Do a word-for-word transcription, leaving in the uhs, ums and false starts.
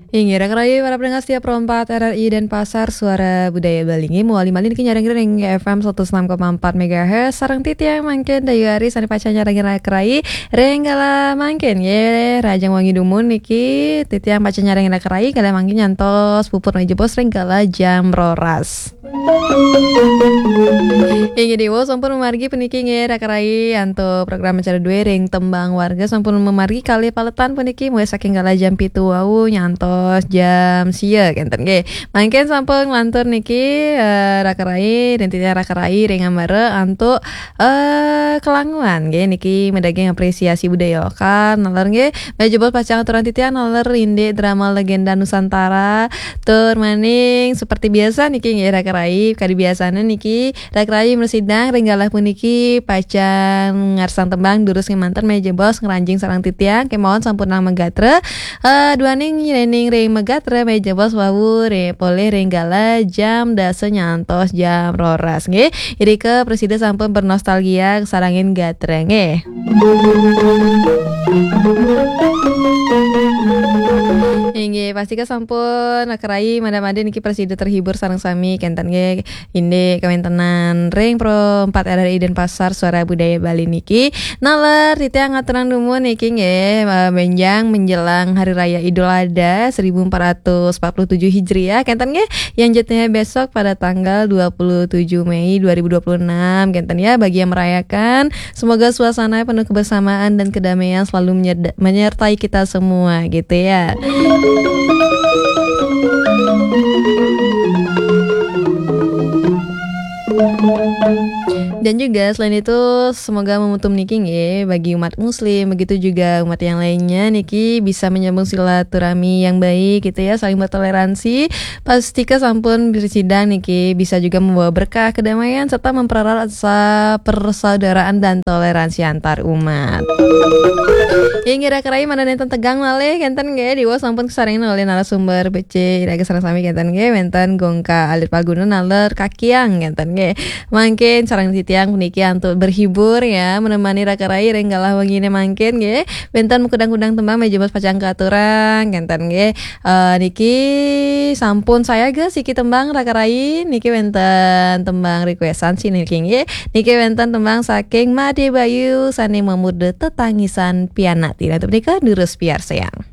Inggih, raka rayi para pendengar setia Pro empat R R I Denpasar, Suara Budaya Bali. Inggih, mawali malih niki nyarengin ring F M satus enam koma empat megahertz, sareng titiang mangkin Dayu Ari sane pacang nyarengin raka rayi ring kala mangkin. Nggih, rahajeng wengi dumun niki titiang pacang nyarengin raka rayi kala mangkin nyantos puput malih jebos ring kala jam roras. Inggih, Dewa sampun mamargi puniki nggih, raka rayi, antuk program acara duwe ring Tembang Warga sampun mamargi kalih paletan puniki, mulai saking kala jam pitu wau nyantos jam sia kenten nggih. Mangkin sampun nglantur niki, eh, raka rayi, ring titiang raka rayi ring ambara antuk, eh, kelanguan nggih, niki madaging apresiasi budaya lokal, naler nggih, malih jebos pacang aturang titiang naler indik drama Legenda Nusantara, tur maning seperti biasa niki nggih, raka rayi, kadi biasane niki raka rayi mrasidang ring galah puniki pacang ngarsang tembang durus ngemanten malih jebos ngranjing sareng titiang kemawon sampun nang magatra, eh, duaning nyening ring magatra malih jebos wau re-, polih ring galah jam dasa nyantos jam roras nggih. Irika prasida sampun bernostalgia sarengin gatra nggih. Inggih, pastika sampun raka rayi mangda-mangda niki prasida terhibur sareng sami kenten nggih. Indik kawentenan ring Pro empat R R I Denpasar, Suara Budaya Bali niki. Naler titiang ngaturang dumun niki nggih, eh, benjang menjelang Hari Raya Idul Adha seribu empat ratus empat puluh tujuh Hijriah kenten nggih. Yang jatuhnya besok pada tanggal dua puluh tujuh Mei dua ribu dua puluh enam kenten ya, bagi yang merayakan, semoga suasana penuh kebersamaan dan kedamaian selalu menyerda-, menyertai kita semua gitu ya. Dan juga selain itu, semoga momentum niki nggih, bagi umat muslim, begitu juga umat yang lainnya niki bisa menyambung silaturahmi yang baik gitu ya, saling bertoleransi. Pastika sampun bersidang niki bisa juga membawa berkah, kedamaian, serta mempererat rasa persaudaraan dan toleransi antar umat. Inggih, raka rayi mangda nenten tegang malih kenten nggih, Dewa sampun kasarengin olih narasumber becik iraga sareng sami kenten nggih, wenten Gongka Alit Palguna naler Kakiang kenten nggih. Mangkin sareng titiang puniki antuk berhibur ya, menemani raka rayi ring galah wengine mangkin nggih. Wenten makudang-kudang tembang malih jebos pacang katurang kenten nggih. Eh, niki sampun sayaga siki tembang raka rayi, niki wenten tembang requestan sih niki nggih. Niki wenten tembang saking Made Bayu sane mamurda Tetangisan Pianak. Nah, punika durus piarsayang.